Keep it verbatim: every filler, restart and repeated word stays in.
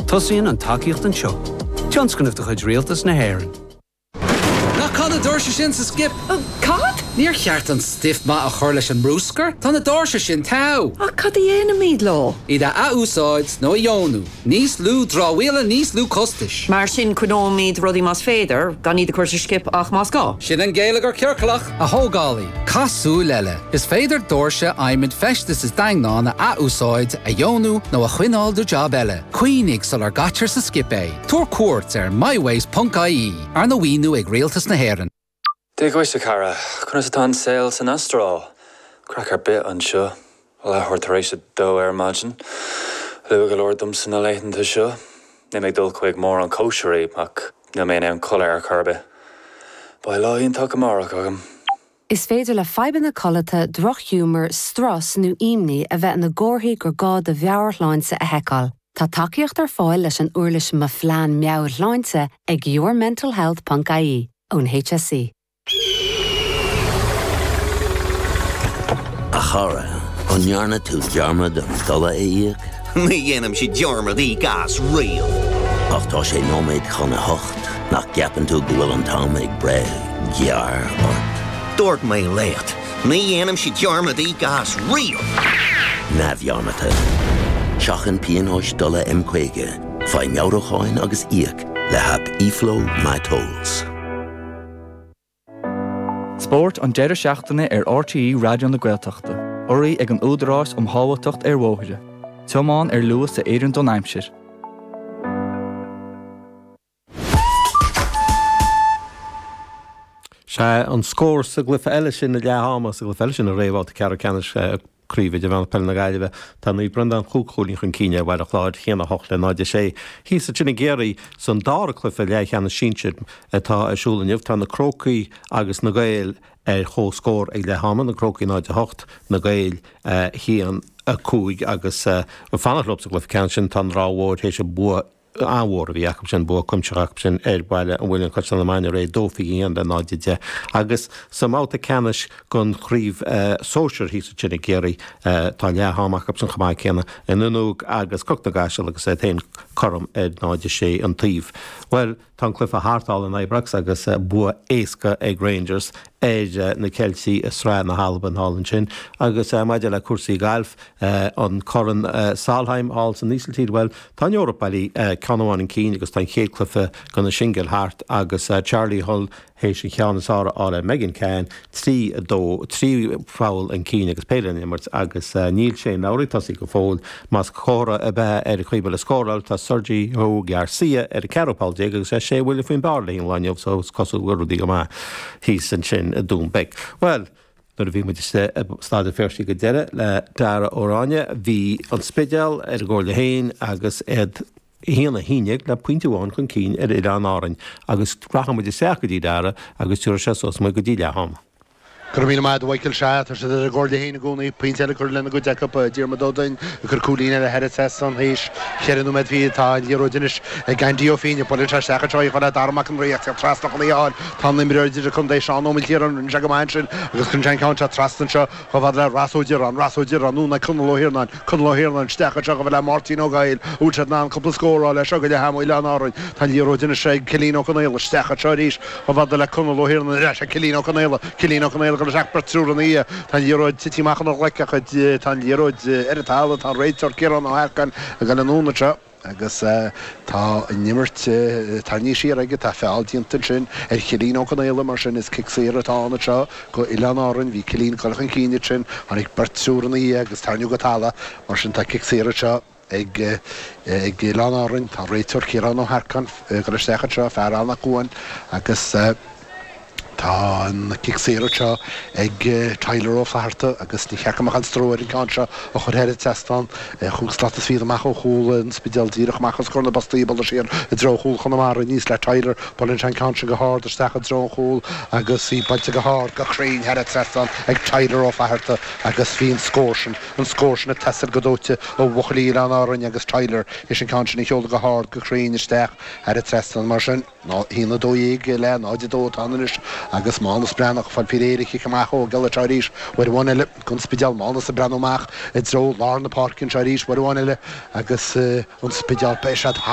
Tosaíonn an tacaíocht anseo. Tionscnamh de chuid Rialtas na hÉireann. Ná caith na doirse sin sa skip. Cad? Níor cheart an stuif maith a chur leis an mbruscar, Tá na doirse sin togha. Ach cad a dhéanfaimid leo? Iad a athúsáid nó a dheonú, Níos lú dramhaíola níos lú costais. Mar sin coinneoimid rudaí más féidir gan iad a chur sa skip ach más gá. Sin an geilleagar ciorclach a thógálaí, Caith súil eile. Is féidir doirse adhmaid feistis is daingneán a athúsáid a dheonú nó a choinneáil do job eile. Cuimhnigh sular gcaitear sa skip é. Tabhair cuairt ar mywaste.ie arna mhaoiniú ag Rialtas na hÉireann. Dia dhuit a chara, conas atá an saol san Astráil, Craic ar bith anseo, leathuair tar éis a dó ar maidin. Luath go leor domsa na laethanta seo, Níl mé ag dul chuig mórán cóisirí ach níl mé in ann codladh ar chor ar bith. Beidh lá iontach amárach agam. Is féidir le fadhbanna codlata drochghiúmar, strus nó imní a bheith ina gcomharthaí gur gá do mheabhairshláinte a sheiceáil. Tá tacaíocht ar fáil leis an uirlis Mo Phlean Meabhairshláinte ag yourmentalhealth.ie ón HSE. A chara, an ndearna tú dearmad an dola a íoc? Ní dhéanaimse dearmad íoc as riamh. Ach tá sé nóiméad chun a hocht nach gceapann tú go bhfuil an t-am ag breith gearr ort. Dúirt mé leat, ní dhéanaimse dearmad íoc as riamh. Neamhdhearmadta. Seachain pionóis dola M caoga, faigh meabhrúcháin agus íoc le haip eFlow MyTolls. Spórt an deireadh seachtaine ar RTÉ Raidió na Gaeltachta, urraithe ag an Údarás um Shábháilteacht ar Bhóithre. Tiomáin ar luas a oireann don aimsir. Sé an scór sa gcluiche eile sin ag leath ama sa gcluiche eile sin an réamhbhabhta ceathrú ceannais Craoibhe Idirmheánach Peile na Gaillimhe. Tá Naomh Breandán cúig chúilín chun cinn ar Bhaile Chláir, a haon a hocht le náid a sé. Thíos ansin i gCiarraí san dara cluiche leathcheannais sinsir atá ar siúl inniu, tá na Crócaigh agus na Gaeil ar chomhscór ag leath ama, na Crócaigh náid a hocht, na Gaeil a haon a cúig agus fanacht leo sa gcluiche ceannais sin tá an Ráth Mhóir théis an bua an-mhór a bhí acu sin, bua cuimsitheach acu sin ar Bhaile an Mhuilinn Caisleán na Maine aréir, dó fiche haon le náid a deich. Agus sa mbabhta ceannais den chraobh sóisir thíos ansin i gCiarraí, tá leath am acu sin chomh maith céanna, an Fhuinneog agus Cnoc na gCaiseal agus iad féin cothrom ar náid a sé an taobh. Bhuel, tá an cluiche thart thall in Ibrox agus bua éasca ag Rangers ar na Ceiltigh i Sraith na hAlban thall ansin. Agus maidir le cúrsaí gailf, an Corn Solheim thall san Ísiltír, bhuel, tá an Eoraip bailí ceann amháin chun cinn agus tá an chéad cluiche de na singil thart agus Charlie Hull théis an cheann is fearr a fháil ar Megan Khang, trí a dó, trí pholl chun cinn agus péire le n-imirt agus níl Shane Lowry ag tosaí go fóill. Más comhartha ar bith é ar an chaoi a bhfuil ag scóráil, tá Sergio Garcia ar an ceathrú poll déag agus é sé bhuille faoin bpar le an lá inniu so is cosúil go bhfuil rudaí go maith thíos ansin i Dún Beag. Bhuel, nuair a bhí muid istigh i Staid an Phiarsaigh go deireadh le Dara Ó Ráinne, bhí an Spidéal ar a gcomhairle féin agus iad a haon a haon déag le pointe amháin chun cinn ar Oileáin Árainn agus rachaidh muid isteach go dtí Dara agus tabharfaidh sé suas muid go dtí leath ama. Go raibh míle maith agat a Mhichael. Sea, tá siad ar a gcomhairle féin i gcónaí. Pointe eile curtha lena gcuid acu. Diarmuid Ó Duinn ag cur cúilín eile thar an trasnán théis cheithre nóiméad fichead. Tá an liathróid anois ag Andy Ó Fínne. Buaileann sé isteach anseo í chomh le Dara Mac an Rí ach teacht trasna chun í a fháil. Tá an imreoir idirchontae Seán Ó Maoilchiaráin. Rinne sé go maith ansin agus cuireann sé an ceann seo trasna anseo chomh fada le Ross Ó Direáin. Ross Ó Direáin anonn ag Conall Ó hIarnáin. Conall Ó hIarnáin isteach anseo chomh fada le Máirtín Ó Gaill. An bhfuil siad in ann cúpla scór a fháil leis seo go leath ama Oileáin Árainn. Tá an liathróid anois ag Cillian Ó Conaola. Isteach anseo arís chomh fada le Conall Ó hIarnáin. Ar ais ag Cillian Ó Conaola. Cillian Ó Conaola ag dul isteach beirt triúr ina dhiaidh. Tá an liathróid tite amach óna ghlaic ach tá an liathróid ar an talamh. Tá an réiteoir Ciarán Ó hEarcáin ag dul anonn anseo. Agus tá an imirt tarraingthe siar aige, tá feall déanta ansin ar Chillín Ó Conaola, mar sin is cic saor atá ann anseo go Oileáin Árainn. Bhí Cillín ag dul chun cinn ansin, tháinig beirt triúr ina dhiaidh agus tarraingíodh go talamh, mar sin tá cic saor anseo ag ag Oileáin Árainn. Tá an réiteoir Ciarán Ó hEarcáin ag dul isteach anseo, fear Eamhnach Cuain, agus. Tá an cic saor anseo ag Tyler Ó Flatharta agus ní cheart go mbeadh aon stró air an ceann seo a chur thar an trasnán. Chúig slat is fichead amach ó chúl an Spidéil, díreach amach os comhair na bpostaí, ag bualadh siar i dtreo chúl Chonamara aníos le Tyler. Buaileann sé an ceann sin go hard isteach i dtreo an chúil agus í buailte go hard, go cruinn thar an trasnán ag Tyler Ó Flatharta agus bhí an scór sin, an scór sin ag teastáil go dóite ó bhuachaillí Oileáin Árainn agus Tyler théis an ceann sin a sheoladh go hard, go cruinn isteach thar an trasnán. Mar sin. A haon a dó dhéag le náid a dó atá ann anois agus Mánus Breathnach ag fáil faoi réir a chic amach Ó Gealla anseo arís uair amháin eile don Spidéal. Mánus ag breathnú amach i dtreo lár na páirce anseo arís uair amháin eile agus an Spidéal beidh siad thar